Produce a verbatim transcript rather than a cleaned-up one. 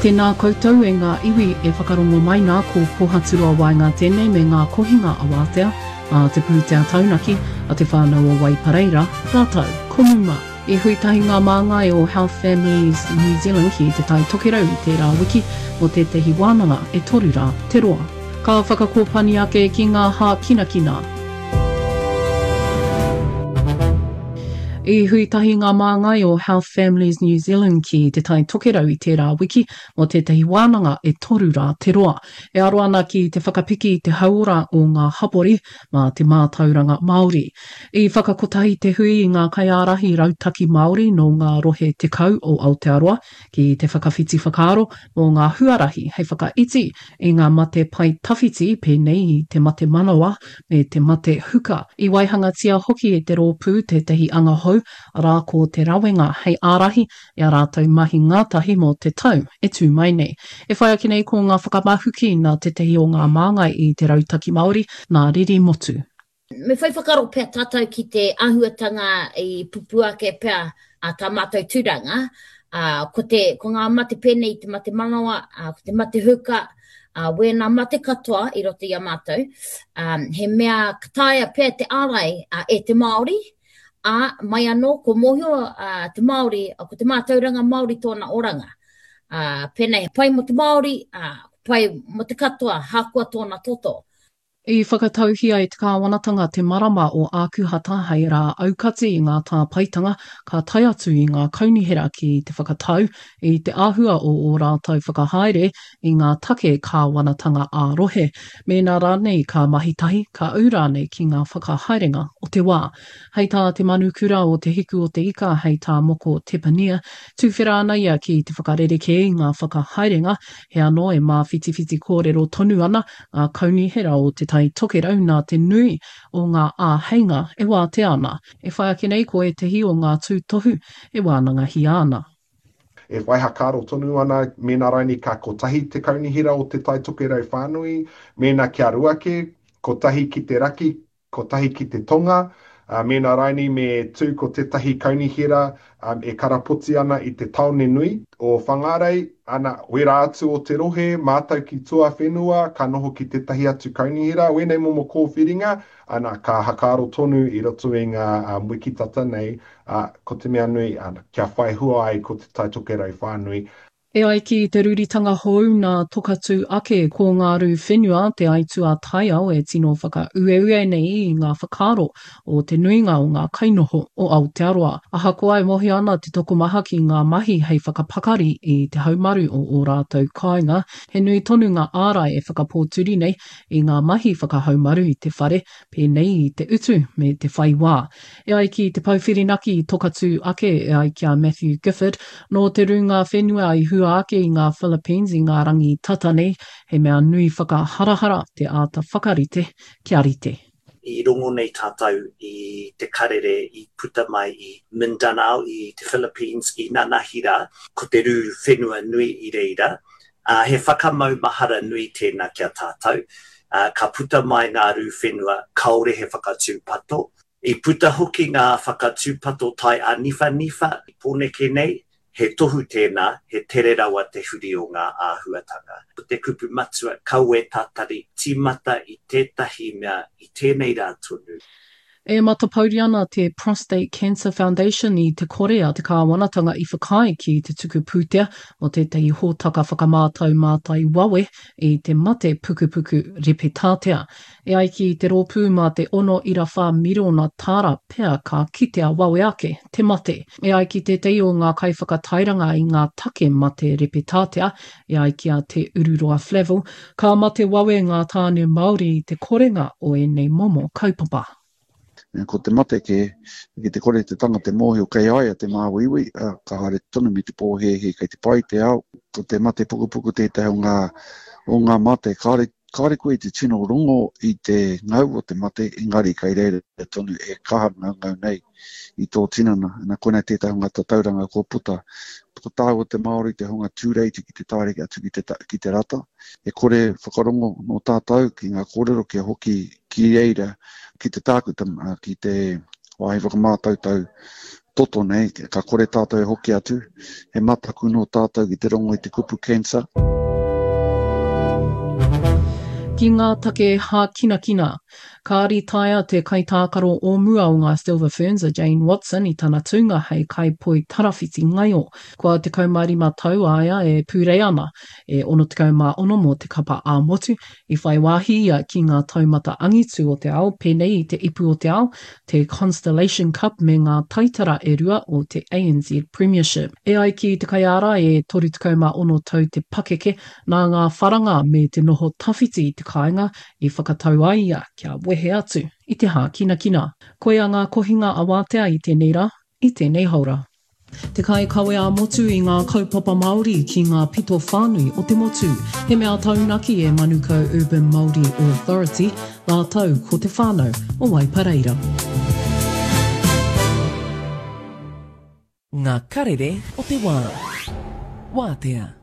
Tēnā koutou e ngā iwi e whakarongo mai nā ko Pohaturoa Waenga tēnei me ngā kohinga awātea a te pūtea taunaki a te whānau o Waipareira, rātou ko Muma. I hui tahi ngā māngai o Health Families New Zealand ki te Tai Tokerau i tērā wiki mō tētahi wānanga e toru rā te roa. Ka whakakōpani ake ki ngā hākinakina. I hui tahi ngā māngai o Health Families New Zealand ki te Tai Tokerau i tērā wiki mō tētahi wānanga e toru rā te roa. E aro ana ki te whakapiki i te hauora o ngā hapori mā te mātauranga Māori. I whakakotahi te hui i ngā kaiārahi rautaki Māori nō ngā rohe tekau o Aotearoa ki te whakawhiti whakaaro mō ngā huarahi hei whakaiti i ngā mate pae tawhiti pēnei i te mate manawa me te mate huka. I waihangatia hoki e te rōpū tētahi anga hou, arā ko te rawenga hei ārahi i ā rātou mahi ngātahi mō te tau e tū mai nei. E whai ake nei ko ngā whakamahuki nā tētahi o ngā māngai i te Rautaki Māori, nā Riri Motu. Me whai whakaaro pea tātou ki te āhuatanga i pupū ake pea a tā mātou tūranga, ā, ko te, ko ngā mate pēnei i te mate manawa, ā, ko te mate huka, ā, wēnā mate katoa i roto i a mātou, ā, he mea ka taea pea te ārai ā, e te Māori, ā, mai anō ko mōhio ā, te Māori, ko te mātauranga Māori tōna oranga. Ā, pēnei he pai mō te Māori, ā, pai mō te katoa, hākoa tōna toto. I whakatauhia e te kāwanatanga te marama o Ākuhata hei rā aukati i ngā tāpaetanga ka tae atu i ngā kaunihera ki te whakatau i te āhua o ō rātou whakahaere i ngā take kāwanatanga ā-rohe, mēnā rānei ka mahi tahi, ka ū rānei ki ngā whakahaerenga o te wā. Hei tā te manukura o Te Hiku o te Ika, hei tā Moko Tepania, tuwhera ana ia ki te whakarerekē i ngā whakahaerenga, he anō e māwhitiwhiti kōrero tonu ana ngā kaunihera o Te Tai Tokerau nā te nui o ngā āheinga e wātea ana. E whai ake nei ko ētahi o ngā tūtohu e wānangahia ana. E whai hakaaro tonu ana mēnā raini ka kotahi te kaunihera o Te Tai Tokerau whānui, mēnā kia rua kē, kotahi ki te raki, kotahi ki te tonga, ā, mēnā raini me tū ko tētahi kaunihera e karapoti ana i te tāone nui o Whangārei, ana, wērā atu o te rohe, mātou ki tuawhenua, ka noho ki tētahi atu kaunihera, wēnei momo kōwhiringa, ana, ka hakaaro tonu i roto i ngā wiki tata nei, ā, ko te mea nui, ana, kia whai hua ai ko Te Tai Tokerau whānui. E ai ki te rūritanga hou nā Tokatū ake ko ngā rū whenua te aituā taiao e tino whakaueue nei i ngā whakaaro o te nuinga o ngā kainoho o Aotearoa. Ahakoa e mōhio ana te tokomaha ki ngā mahi hei whakapakari i te haumaru o ō rātou kāinga, he nui tonu ngā ārai e whakapōturi nei i ngā mahi whakahaumaru i te whare, pēnei i te utu me te whai wā. E ai ki te pou whirinaki i Tokatū ake, e ai ki a Matthew Gifford, nō te rūnga whenua i hua ake i ngā Philippines i ngā rangi tata nei, he mea nui whakaharahara te āta whakarite kia rite. I rongo nei tātou i te karere i puta mai i Mindanao i te Philippines i nanahi rā, ko te rū whenua nui i reira, ā, he whakamaumahara nui tēnā ki a tātou, ā, ka puta mai ngā rū whenua kāore he whakatūpato. I puta hoki ngā whakatūpato tai āniwhaniwha i Pōneke nei, he tohu tēnā, he tere rawa te huri o ngā āhuatanga. Ko te kupu matua, kaua e tatari, tīmata i tētahi mea i tēnei rā tonu. E matapouri ana te Prostate Cancer Foundation i te kore a te kāwanatanga i whakaae ki te tuku pūtea mō tētahi hōtaka whakamātau mātai wawe i te mate pukupuku repetātea. E ai ki te rōpū mā te ono ira whā mirona tāra pea ka kitea wawe ake te mate. E ai ki tētahi o ngā kaiwhakatairanga i ngā take mate repetātea, e ai ki a Te Ururoa Flavell, ka mate wawe ngā tāne Māori i te korenga o ēnei momo kaupapa. Ko te mate kē, ki te kore te tangata e mōhio kei a ia te māuiui, ā, ka haere tonu me te pōhēhē kei te pai te ao. Ko te mate pukupuku tētahi o ngā, o ngā mate. Kāore, kāore koe i te tino rongo i te ngau o te mate, engari kei reira tonu e kaha ngaungau nei i tō tinana. Nā, koinā tētahi o ngā tatauranga kua puta. Ko tāua te Māori te hunga tūreiti ki te taere atu ki te, ki te rata. E kore whakarongo nō tātou ki ngā kōrero kia hoki ki reira, ki te tākuta, ki te wāhi whakamātautau toto nei, ka kore tātou e hoki atu, he mataku nō tātou ki te rongo i te kupu cancer. Ki ngā take hākinakina, ka ritaia te kaitākaro o mua o ngā Silver Ferns a Jane Watson i tana tūnga hei kaipoi tarawhiti ngaio. Kua tekau mā rima tau a ia e pūrei ana, e ono tekau mā ono mō te kapa ā-motu, i whai wāhi ia ki ngā taumata angitu o te ao pēnei i te Ipu o te Ao, te Constellation Cup me ngā taitara e rua o te A N Z Premiership. E ai ki te kaiārai e toru tekau mā ono tau te pakeke, nā ngā wharanga me te noho tawhiti i te kāinga i whakatau ai ia kia wehe atu i te hākinakina. Koia ngā kohinga awātea i tēnei rā, i tēnei haora. Te kaikawe ā-motu i ngā kaupapa Māori ki ngā pito whānui o te motu. He mea taunaki e Manukau Urban Māori Authority rātou ko te whānau o Waipareira. Ngā karere o te wā. Wātea.